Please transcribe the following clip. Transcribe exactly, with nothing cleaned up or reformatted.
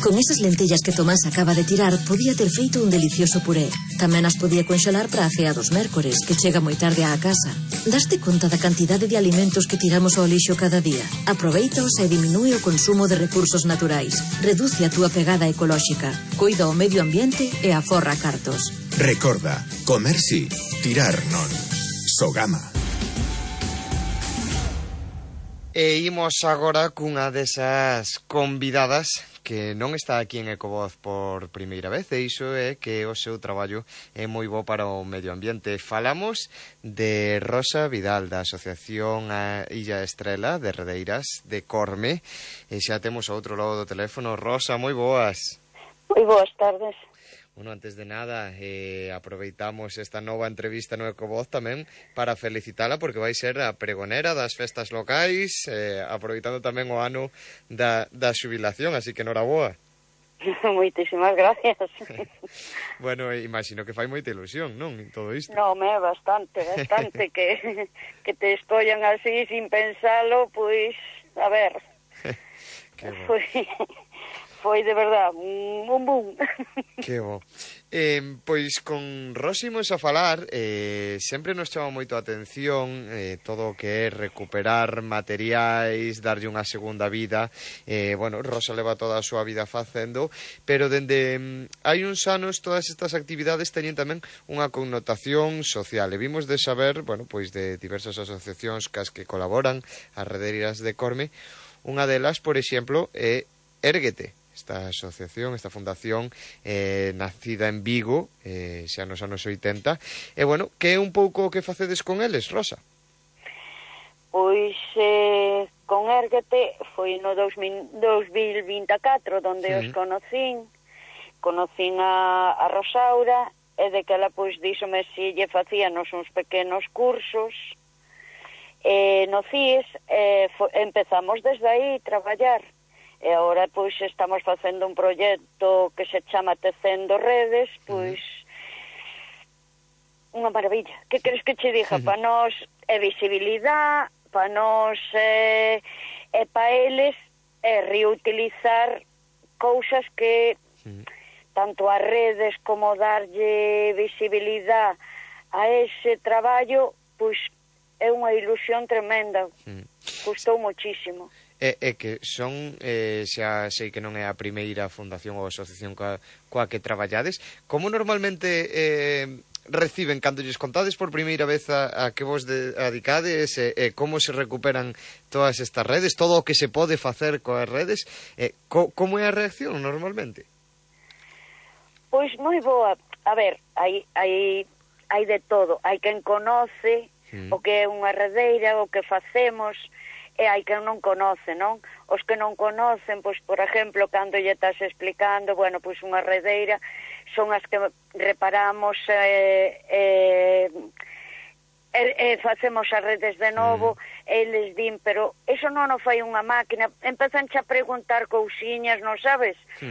Con esas lentellas que Tomás acaba de tirar, podía ter feito un delicioso puré. Tamén as podía conxelar para a cea dos mércores, que chega moi tarde á casa. Daste conta da cantidade de alimentos que tiramos ao lixo cada día? Aproveitaos e diminúe o consumo de recursos naturais. Reduce a túa pegada ecolóxica. Coida o medio ambiente e aforra cartos. Recorda, comer sí, tirar non. Sogama. E imos agora cunha desas convidadas que non está aquí en Ecovoz por primeira vez, e iso é que o seu traballo é moi bo para o medio ambiente. Falamos de Rosa Vidal, da Asociación a Illa Estrela de Redeiras de Corme, e xa temos ao outro lado do teléfono. Rosa, moi boas. Moi boas tardes. Bueno, antes de nada, eh, aproveitamos esta nova entrevista no Ecovoz tamén para felicitala, porque vai ser a pregonera das festas locais, eh, aproveitando tamén o ano da, da xubilación, así que noraboa. Moitísimas gracias. Bueno, imagino que fai moita ilusión, non, todo isto? Non, me bastante, bastante, que, que te escollan así sin pensalo, pois, a ver, foi... Foi de verdad un boom. Que bo. Eh, pois con Rosa imos a falar, eh, sempre nos chama moito a atención eh, todo o que é recuperar materiais, darlle unha segunda vida. Eh, bueno, Rosa leva toda a súa vida facendo, pero dende mm, hai uns anos todas estas actividades teñen tamén unha connotación social. E vimos de saber, bueno, pois de diversas asociacións cas que colaboran, as Redeiras de Corme. Unha delas, por exemplo, é Érguete. Esta asociación, esta fundación eh, nacida en Vigo, eh, xa nos anos oitenta. E, bueno, que é un pouco o que facedes con eles, Rosa? Pois, eh, con Érguete foi no dos mil vinte e catro, donde sí. os conocín. Conocín a, a Rosaura, e de que ela, pois, díxome si lle facíanos uns pequenos cursos. E no C I E S eh, fo, empezamos desde aí a traballar. E agora, pois, estamos facendo un proxecto que se chama Tecendo Redes, pois, uh-huh. unha maravilla. Que queres que che diga? Uh-huh. Para nós é visibilidade, para nós é, é para eles é reutilizar cousas que uh-huh. tanto as redes como darlle visibilidade a ese traballo, pois, é unha ilusión tremenda. Uh-huh. Custou muchísimo. É, é que son, eh, xa sei que non é a primeira fundación ou asociación coa, coa que traballades. Como normalmente eh, reciben, cando lles contades por primeira vez a, a que vos dedicades, e eh, eh, como se recuperan todas estas redes, todo o que se pode facer coas redes, eh, co, como é a reacción normalmente? Pois moi boa. A ver, hai, hai, hai de todo. Hai quen conoce mm. o que é unha redeira, o que facemos... E hai que non conoce, non? Os que non conocen, pois, por exemplo, cando lle estás explicando, bueno, pois unha redeira son as que reparamos e, e, e, e facemos as redes de novo, mm. e eles din, pero eso non o fai unha máquina, empezan a preguntar cousiñas, non sabes?